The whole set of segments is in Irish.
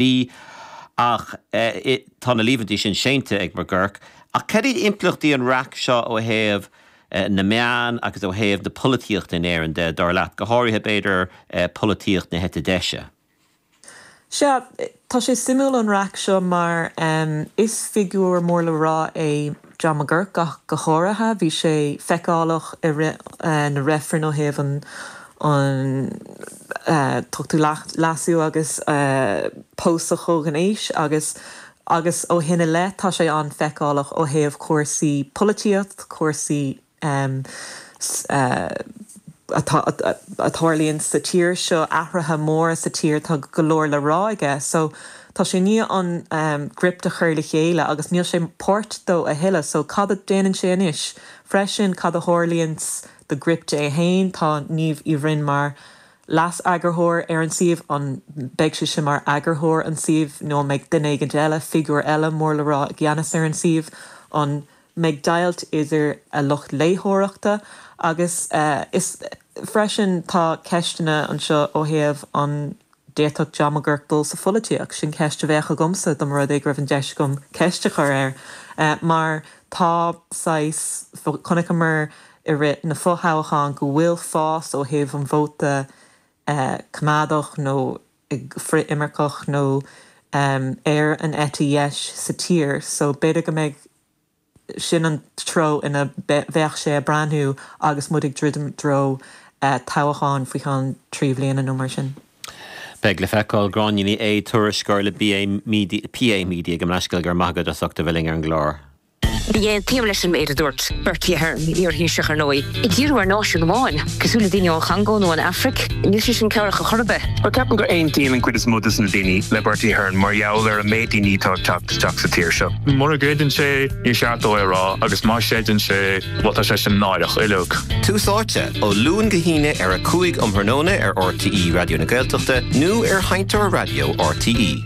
B, Ach tá na líomhaintí sin séanta ag McGurk. Ach cad iad impleachtaí an raic seo ó thaobh na meán agus ó thaobh na polaitíochta in Éirinn de, dar leat, go háirithe, b'fhéidir, polaitíocht na heite deise? Sea, tá sé suimiúil an raic seo mar is figiúr mór le rá é John McGurk ach go háirithe. Bhí sé feiceálach i rith na reifreann ó thaobh an an tOchtú Leasú agus pósadh comhghnéis agus agus ó shin i leith tá sé an-fheiceálach ó thaobh cúrsaí polaitíocht, cúrsaí atá a tharlaíonn sa tír seo, athruithe móra sa tír, tá go leor le rá aige. So tá sé i ndiaidh an Gript a chur le chéile agus níl sé páirt dó a thuilleadh. So cad a déanann sé anois? Freisin cad a tharlaíonns do Gript é féin. Tá Niamh Uí Bhroin mar leas-eagarthóir ar an suíomh. An mbeidh sise mar eagarthóir an tsuímh nó an mbeidh duine éigint eile, figiúr eile mór le rá i gceannas ar an suíomh? An mbeidh deighilt idir a lucht léitheoireachta agus is freisin tá ceisteanna anseo ó thaobh an d'fhéadfadh John McGuirk dul sa pholaitíocht? Sin ceist a bheadh agamsa dá mba rud é go raibh an deis agam ceist a chur air. Mar tá saghas, chonaiceamar i rith na fothoghchán go bhfuil fás ó thaobh an vóta coimeádach nó frith-imirceach nó ar an eite dheis sa tír so b'fhéidir go mbeidh Sin an treo ina mbeadh sé ag breathnú agus muid ag druidim i dtreo toghcháin faoi cheann 3 bhliana nó mar sin. Beidh le feiceáil. Gráinne Ní Aodha, tuairisceoir le BA Media, PA Media, gabh mo leithscéal, go raibh maith agat as ucht a bheith linn ar an gclár. Ní aontaím leis an méid a dúirt Bertie Ahern, iar-Thaoiseach ar ndóigh, ag díriú ar náisiún amháin, cosúil le daoine ón Chongó nó an Afraic, níl sé sin cabhrach ar chor ar bith. Bhuel, ceapaim gur aontaíonn an cuid is mó de na daoine le Bertie Ahern mar gheall ar an méid daoine atá ag teacht isteach sa tír seo. Mura gcreideann sé, níor cheart dó é a rá, agus má chreideann sé, bhuel tá sé sin náireach uilig. Tús Áite, ó Luan go hAoine ar 5 um thráthnóna ar RTÉ Raidió na Gaeltachta nó ar Sheinnteoir Raidió RTÉ.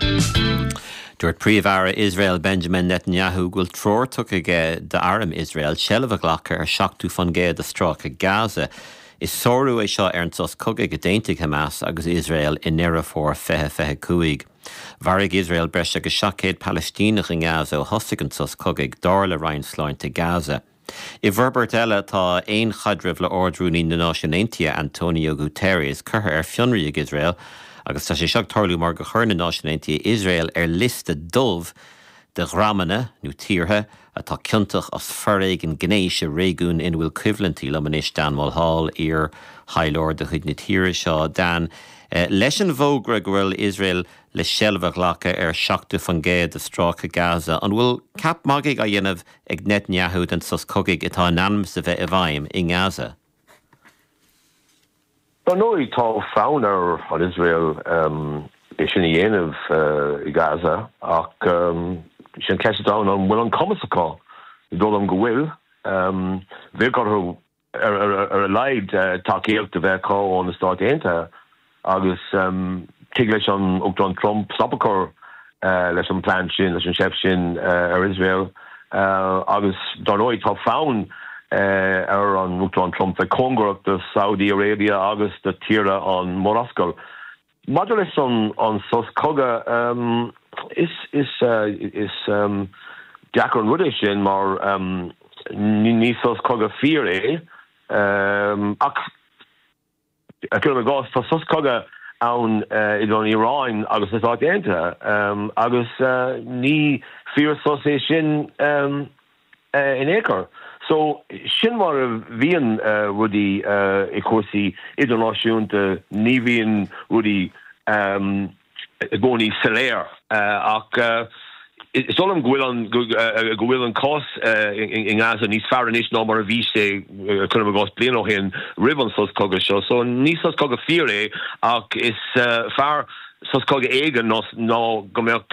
Dúirt Príomh-Aire Iosrael Benjamin Netanyahu go bhfuil treoir tugtha aige d'arm Iosrael seilbh a ghlacadh ar 70% de stráice Gaza. Is sárú é seo ar an sos cogaidh a d'aontaigh Hamas agus Iosrael i nDeireadh Fómhair 2025. Mharaigh Iosrael breis agus 700 Palaistíneach i nGaza ó thosaigh an sos cogaidh, dar le Roinn Sláinte Gaza. I bhforbairt eile, tá aon chaidreamh le Ard-Rúnaí na Náisiún Aontaithe, Antonio Guterres, curtha ar fionraí ag Iosrael agus tá sé seo ag tarlú mar gur chuir na Náisiúin Aontaithe Iosrael ar liosta dubh de dhreamanna, nó tíortha, atá ciontach as foréigean gnéis i réigiún ina bhfuil coimhlintí. Liom anois Dan Mulhall, iar-thaidhleoir de chuid na tíre seo. Dan, leis an bhfógra go bhfuil Iosrael le seilbh a ghlacadh ar 70% de stráice Gaza, an bhfuil ceap magaidh á dhéanamh ag Netanyahu den sos cogaidh atá in ainm is a bheith i bhfeidhm i nGaza? Dar ndóigh, tá fonn ar an Iosrael é sin a dhéanamh i Gaza ach sin an cheist atá ann, an bhfuil an cumas acu? Ní dóigh liom go bhfuil. Bheadh orthu ar a laghad tacaíocht a bheith acu ó na Stáit Aontaithe agus tig leis an Uachtarán Trump stop a chur leis an bplean sin, leis an seift sin ar Iosrael. Agus dar ndóigh tá fonn ar an Uachtarán Trump bheith cóngarach do Saudi Arabia agus do tíortha an Mhurascaill. Maidir leis an sos cogaidh, is deacair an rud é sin mar ní sos cogaidh fíor é ach, Cuirim i gcás, tá sos cogaidh ann idir an Iaráin agus na Stáit Aontaithe agus ní fíor-sos é sin in aon chor. So, sin mar a bhíonn rudaí i cúrsaí idirnáisiúnta, ní bhíonn rudaí i gcónaí soiléir ach is dóigh liom go bhfuil an go bhfuil an cás i nGaza níos fearr anois ná mar a bhí sé, cuirim i gcás, bliain ó shin roimh an sos cogaidh seo. So ní sos cogaidh fíor é ach is fearr sos cogaidh éigin ná go mbeadh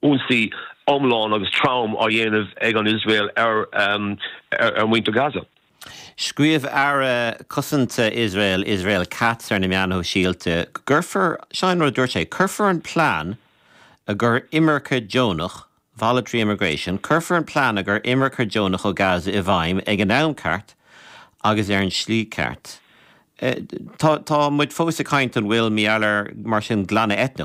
ionsaí iomlán agus trom á dhéanamh ag an Iosrael ar ar mhuintir Gaza. Scríobh Aire Cosanta Iosrael, Israel Katz ar na meáin shóisialta go gcuirfear, seo an rud a dúirt sé, cuirfear an plean i gcomhair imirce deonach, voluntary immigration, cuirfear an plean i gcomhair imirce deonach ó Gaza i bhfeidhm ag an am ceart agus ar an slí ceart. Tá, tá muid fós ag caint an bhfuil mar gheall ar, mar sin, glanadh eitneach.